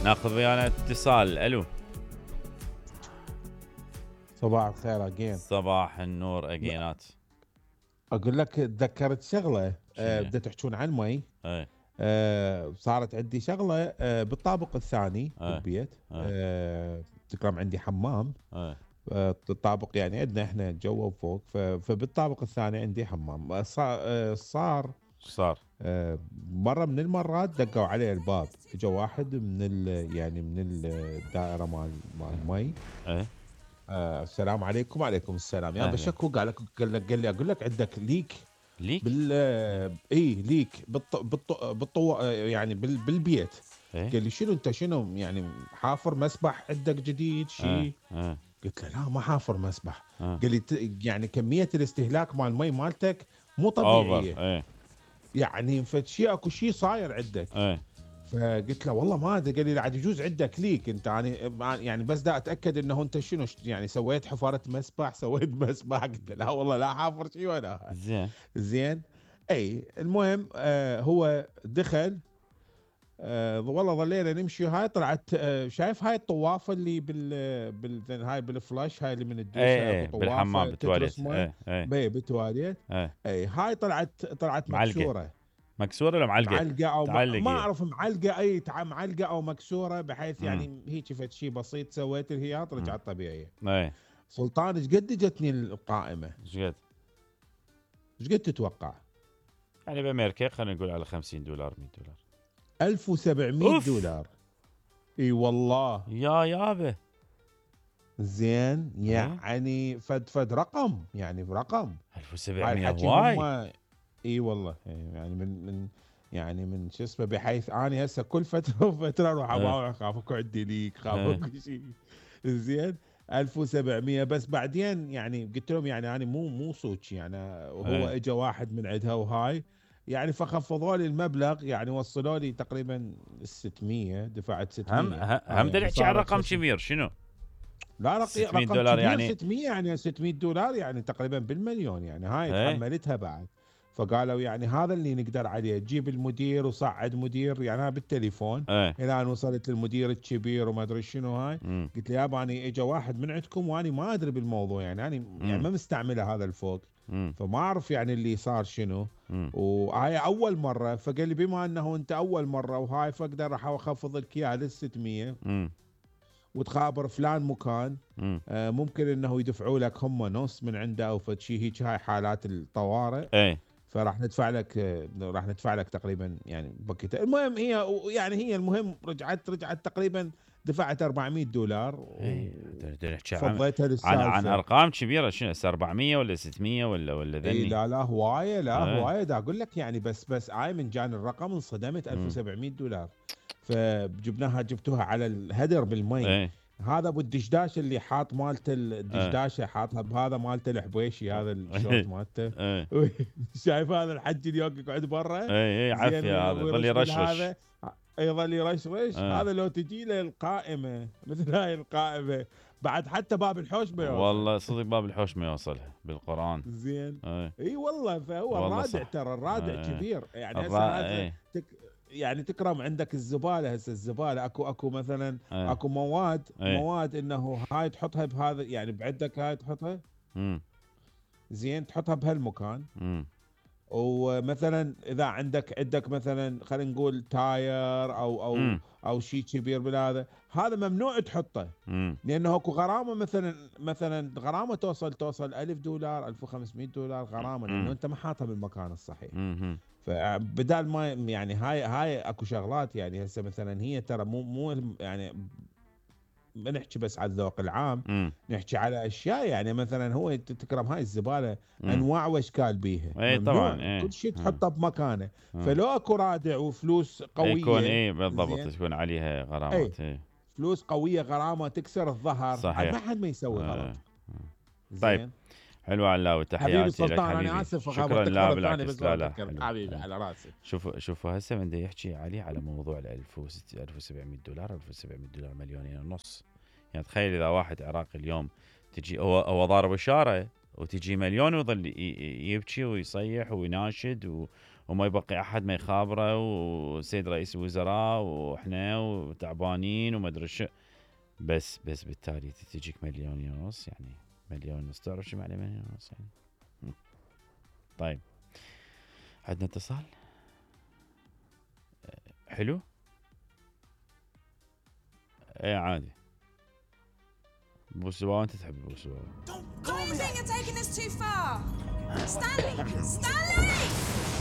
ناخذ ويانا اتصال. الو صباح الخير اجين. صباح النور اجينات. اقول لك تذكرت شغله شنو؟ بدأت تحكون عن مي. اي صارت عندي شغله بالطابق الثاني أي. بالبيت. أي. تكرم عندي حمام. اي الطابق يعني عندنا احنا جوا وفوق، فبالطابق الثاني عندي حمام. صار شو صار؟ مرة من المرات دقوا علي الباب، اجى واحد يعني من الدائرة مال مي. اي السلام عليكم. وعليكم السلام. يا أهلا. بشكو قال لي اقول لك عندك ليك ليك؟ ليك يعني بالبيت. إيه؟ قال لي شنو انت، شنو يعني حافر مسبح عندك جديد شيء؟ قلت له لا ما حافر مسبح. قال لي يعني كمية الاستهلاك مال المي مالتك مو طبيعية. ايه يعني فشي اكو شيء صاير عندك. فقلت له والله ما ادري. قال لي عاد يجوز عندك ليك انت، يعني بس دا اتاكد انه انت شنو يعني سويت حفاره مسبح، سويت مسبح. قلت له لا والله لا حافر شيء ولا زين. اي المهم هو دخل. والله ظلينا نمشي. هاي طلعت شايف هاي الطوافه اللي هاي بالفلاش، هاي اللي من الدوسه بالحمام بالتواليت. بالتواليت. اي هاي طلعت مكسوره ولا معلقه او ما اعرف معلقه. اي معلقه او مكسوره، بحيث يعني هيك فد شيء بسيط سويت الهياط رجعت طبيعيه. سلطان ايش قد جتني القائمه؟ ايش قد تتوقع؟ يعني بامريكا خلينا نقول على $50 $100. 1700 دولار. اي والله يا يابا. زين يعني فد رقم، يعني رقم 1700 هواي. اي والله يعني من شو اسمه، بحيث اني هسه كل فتره وفتره اروح اخاف اكو عندي ليك، خاف اكو شيء. زين 1700. بس بعدين يعني قلت لهم يعني انا مو صوتش يعني. وهو اجى واحد من عندها وهاي يعني، فخفضوا لي المبلغ يعني، وصلوا لي تقريبا 600. دفعت 600. هم نحكي عن رقم كبير. شنو؟ لا رقم $600 يعني 600 يعني $600 يعني تقريبا بالمليون يعني. هاي تحملتها بعد. فقالوا يعني هذا اللي نقدر عليه، تجيب المدير وصعد مدير يعني. انا بالتليفون الى ان وصلت للمدير الكبير وما ادري شنو هاي. قلت له يابا اني اجى واحد من عندكم واني ما ادري بالموضوع يعني. انا يعني ما مستعمله هذا الفوق، فما اعرف يعني اللي صار شنو. وهاي اول مره. فقال لي بما انه انت اول مره وهاي، فاقدر راح اخفض لك اياها لل 600 وتخابر فلان مكان. ممكن انه يدفعوا لك هم نص من عنده او فد شيء هيك. هاي حالات الطوارئ. فراح ندفع لك تقريبا يعني بكيت. المهم هي المهم رجعت تقريبا دفعت $400. فضيتها للسالفه عن ارقام كبيره. شنو 400 ولا 600 ولا ذني؟ لا هوايه. هوايه دا اقول لك يعني. بس هاي من جان الرقم انصدمت. $1700. جبتوها على الهدر بالمي. هذا ابو الدشداش اللي حاط مالته الدشداشه حاطها بهذا مالته الحبيشي، هذا الشورت مالته. شايف هذا الحج اللي يقعد برا؟ عافيه. هذا يظل يرشرش. يظل يرشرش. هذا لو تجي له القائمه مثل هاي القائمه بعد حتى باب الحوش ما يوصل. والله صدق باب الحوش ما يوصلها بالقران. زين اي والله. فهو الرادع ترى الرادع كبير يعني. هسه يعني تكرم عندك الزباله. هسه الزباله اكو مثلا اكو مواد انه هاي تحطها بهذا يعني بعندك. هاي تحطها زين تحطها بهالمكان. ومثلا اذا عندك مثلا خلينا نقول تاير او شيء كبير بالهذا، هذا ممنوع تحطه. لانه اكو غرامه مثلا غرامه توصل $1000 $1500 غرامه، لانه انت ما حاطها بالمكان الصحيح. فبدال ما يعني هاي اكو شغلات يعني. هسه مثلا هي ترى مو يعني ما نحكي بس على الذوق العام، نحكي على اشياء يعني. مثلا هو تكرم هاي الزباله انواع واشكال بيها. طبعا كل شيء تحطه بمكانه. فلو اكو رادع وفلوس قويه يكون بالضبط تكون عليها غرامات. فلوس قويه غرامه تكسر الظهر. صحيح. ما حد ما يسوي غلط. طيب حلو علاوي. تحياتي لك حبيبي. انا اسف. شكرا. لا بالعكس. لا حبيبي على راسي. شوفوا هسه من يحكي على موضوع $1700 $1700 مليونين ونص. يعني تخيل اذا واحد عراقي اليوم تجي هو ضارب اشاره وتجي مليون ويظل يبكي ويصيح ويناشد وما يبقي احد ما يخابره، وسيد رئيس الوزراء واحنا وتعبانين وما ادري شو. بس بالتالي تجيك 1.5 مليون يعني 1.5 مليون، تعرف شو معنى 1.5 مليون يعني؟ طيب عندنا اتصال حلو. ايه عادي. بوسوا، انت تحب بوسوا. Stanley!